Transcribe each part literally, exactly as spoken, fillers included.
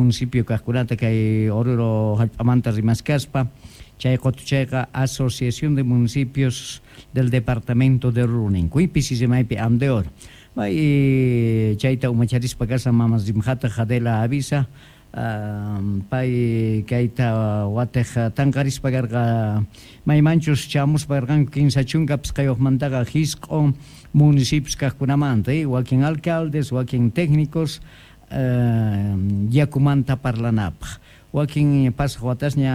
municipio kaqkunata kay Oruro hallp'amanta rimaskaspa chay qutuchayqa Asociación de Municipios del Departamento de Oruro ninku pisi rimaypi AMDEOR may chayta umacharispa kashan mama rimjata Adela Avisa Uh, pay kayta watej tanqarispa karqa maymanchus chamuspa karqanku kinsa chunka pisqayuqmantaqa hisq'un municipios kaqkunamanta eh? Wakin alcaldes, wakin técnicos uh, yakumanta parlanapaq wakin pasaq watasña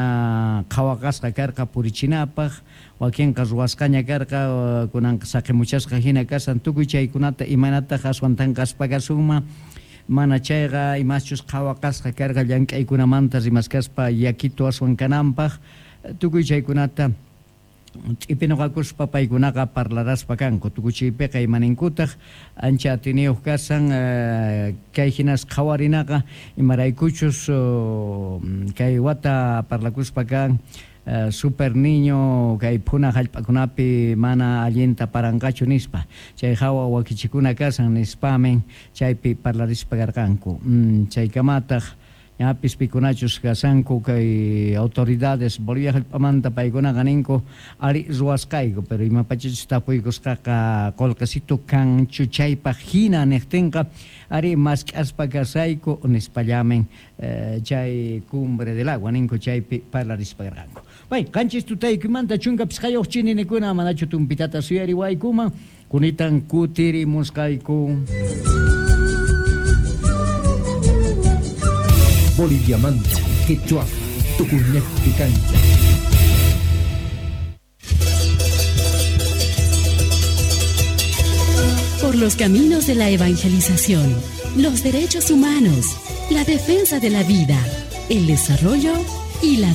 qhawaqasqa karqa purichinapaq wakinqa ruwasqaña karqa kunanqa saqimuchasqa hina kasan tukuy chaykunata imanataq aswan tanqaspa kasunman mana chayqa imaschus qhawaqasqa karqa llank'aykunamanta rimaskaspa yakito aswan kananpaq tukuy chaykunata ch'ipinuqakuspa paykunaqa parlaraspa kanku tukuchiypiqa imaninkutaq ancha atiniyuq kasan kay hinas qhawarinaqa imaraykuchus kay wata parlakuspa kan Uh, super niño kay phuna hallp'akunapi mana allinta paranqachu nispa chay hawa wakichikuna kasan nispamen chaypi parlarispa karqanku mm, chaykamataq ñapis pikunachus kasanku kay autoridades Bolivia hallp'amanta paykunaqa ninku ari ruwasqayku pero imapachachus tapuykusqaqa qullqisitu kanchu chaypaq hina niqtinqa ari mask'aspa kasayku nispallamen eh, chay cumbre del agua ninku chaypi parlarispa karqanku. Bay, qanchis tutaykumanta chunka pisqayuq chininikuna manachu tumpitata suyariwaykuman kunitan kutirimusqayku. Boliviamanta, Quechua, Tucumán, Cancha. Por los caminos de la evangelización, los derechos humanos, la defensa de la vida, el desarrollo y la democracia.